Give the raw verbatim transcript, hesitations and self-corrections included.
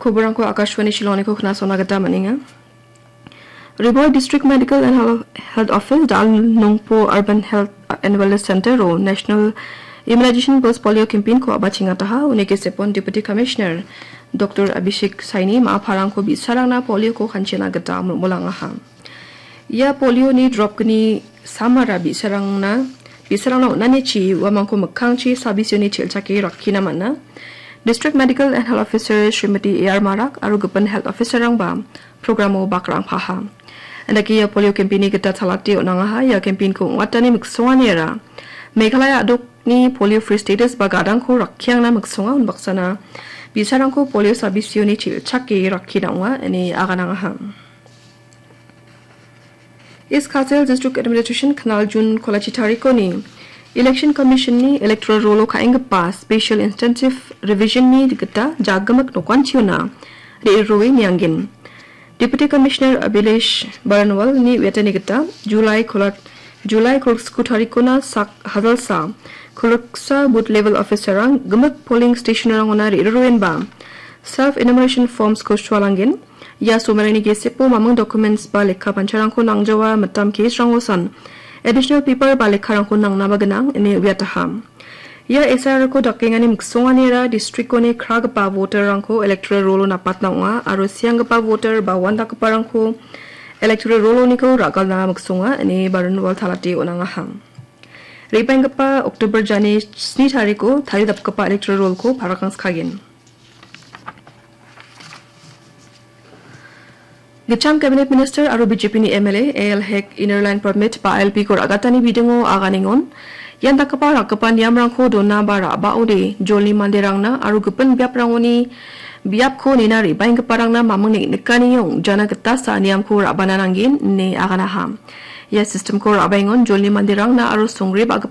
Koborangko Akashvani Shillongko khnasona gita man·enga. Ri Bhoi District Medical and Health Health Office, Dal Nongpo Urban Health and Wellness Center-o National Immunization Pulse Polio Campaign-ko a·bachengataha, uni gisepon Deputy Commissioner Doctor Abhishek Saini ma·a parangko bi·sarangna polio-ko kanchena gita mol·molangaha. Ia polio-ni drop-gni samara bi·sarangna, bi·sarangna on·anichi uamangko mikkangchi sabisioni chel·chake rakkina man·a. District Medical and Health Officer Srimati A R Marak aro gipin health officer-rangba program-o bakrangpaha. Indake ia polio campaign-ni gita chalate on·angaha. Ia campaign-ko ong·atani miksonganiara Meghalaya a·dokni polio free status ba gadangko rakkiangna miksonga, unbaksana bi·sarangko polio sabisioni chel·chake rakkina ong·a ine aganangaha. East Khasi Hills District Administration knal Jun kolachi tarikoni Election Commission-ni electoral roll-o ka·enggipa special intensive revision-ni gita jagimik nokanchiona re·rue niangen. Deputy Commissioner Abhilash Baranwal-ni uiatani gita July kola-, July kolgriku tarikona sak hajalsa kolgriksa booth level officer-rang gimik polling station-rangona re·ruenba self enumeration forms-ko sualangen. Ia somerangni gesepo mamung documents ba lekka pancharangko nangjawa mitam case-rangosan additional paper ba lekkarangko nangnaba gnang ine uiataha. Ia S I R-ko dakengani miksonganira district-oni kragipa voter-rangko electoral roll-o napatna ong·a aro sianggipa voter ba uandakgiparangko electoral roll-oniko ra·galna miksonga ine Baranwal talate on·angaha. Re·baenggipa October jani sni tariko taridapgipa electoral roll-ko parakangskagen. Gitcham Cabinet Minister aro B J P-ni M L A A L Hek Inner Line Permit ba I L P-ko ra·gatani bidingo aganengon ian dakgipa rakgipa niamrangko dona ba ra·baode jolni manderangna aro gipin biaprangoni biapko nina re·baenggiparangna mamung neng·nikani ong·jana gitasa niamko ra·bana nanggen ine aganaha. Ia system-ko ra·baengon jolni manderangna aro songre ba·gipa